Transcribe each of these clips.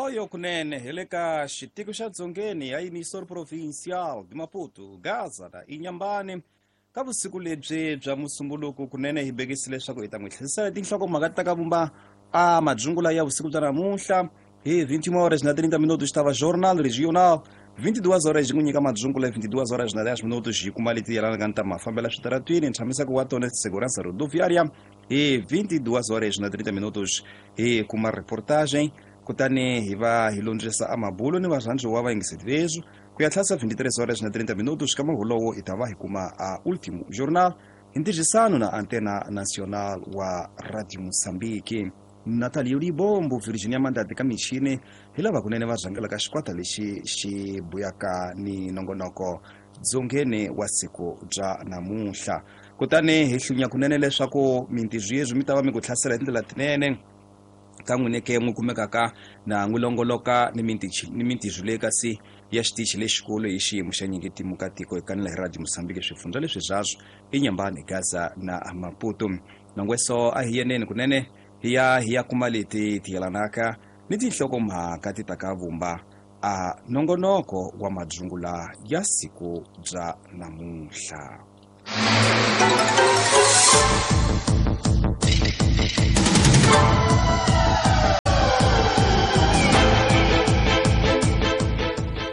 Hoyohoyo kunene hi le ka xitiko xa dzongeni ya Emissor Provincial de Maputo, Gaza na Inhambane. Ka vusiku lebyi bya Musumbuluku kunene hi bekisi leswaku hi ta n'wi tlherisela tinhlokomhaka ta ka vumba a madzungula ya vusiku bya namuntlha hi 21 horas na 30 minutos ta va Jornal Regional 22 horas yi n'wi nyika madzungula 22 horas na 10 minutos yi kuma leti yelanaka ni ta mafambela switaratwini ntshamiseko wa tona segurança rodoviária hi 22 horas na 30 minutos hi kuma reportagem kutani hi va hi londzisa a mabulo ni varhandziwa va yingiseti veswi ku ya tlhasa 23 horas na 30 minutos ka mahulowo hi ta va hi kuma a ultimo jornal hi ntirhisano na Antena Nacional wa Radio Mozambique. Natalia Libombo, Virginia Mandati ka michini hi lava kunene va rhangelaka xikwata lexi xi buyaka ni nongonoko dzongeni wa siku bya namuntlha. Kutani hi hlunya kunene leswaku mintirho yezwi mi ta va mi ku hlasela hi tindlela tinene ka n'wine ke n'wi kumekaka na n'wi longoloka ni mintirho leyi kasi ya xitichi lexikulu hi xiyimo xa nyingetimu ka tiko hi kanela hi Radio Mozambique swifundza leswi byaswo Inhambane, Gaza na Maputo. Nongweso a hi yeneni kunene hi ya hi ya kuma leti ti yelanaka ni tinhlokomhaka ti ta ka vumba a nongonoko wa madzungula ya siku bya namuntlha.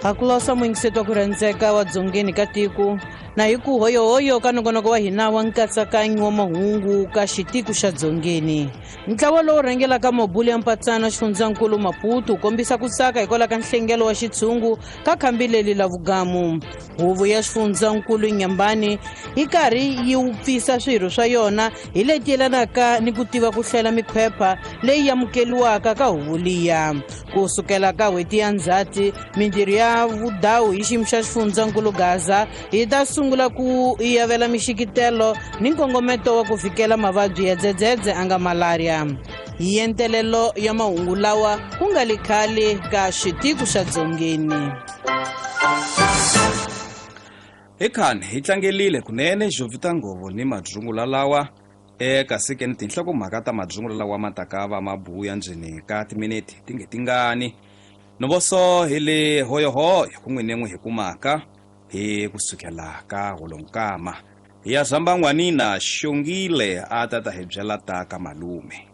Hakulosa muyingiseti wa ku rhandzeka wa dzongeni ka tiko na hi ku hoyohoyo ka nongonoko wa hina wa nkatsakanyo wa mahungu ka xitiko xa dzongeni. Ntlawa lowu rhangelaka mabulu ya mpatsana xifundzankulu Maputo wu kombisa ku tsaka hikwalaho ka nhlengelo wa xitshungu ka khambi leri la vugamu. Huvo ya xifundzankulu Inhambane yi karhi yi wupfisa swirho swa yona hi leti yelanaka ni ku tiva ku hlela mikhwepha leyi amukeliwaka ka huvo liya. Ku sukela ka n'hweti ya Ndzhati, mintirho ya vudawu hi xiyimo xa xifundzankulu Gaza yi ta sungula ku yavela mixikitelo ni nkongometo wa ku fikela mavabyi ya dzedzedze a nga malaria. Hi yentelelo ya mahungu lawa ku nga li khale ka xitiko xa dzongeni. Hi khani hi tlangelile kunene Jovita Ngovo ni madzungula lawa eka sike ni tinhlokomhaka ta madzungula lawa ma taka va mabuya ndzeni ka timinete ti nge tingani. Novoso hi le hoyohoyo ku n'wine n'wi hi kumaka hi kusukela ka holonkama. Hi ya zamba n'wanina Xongile a ta ta hi byela ta ka malume.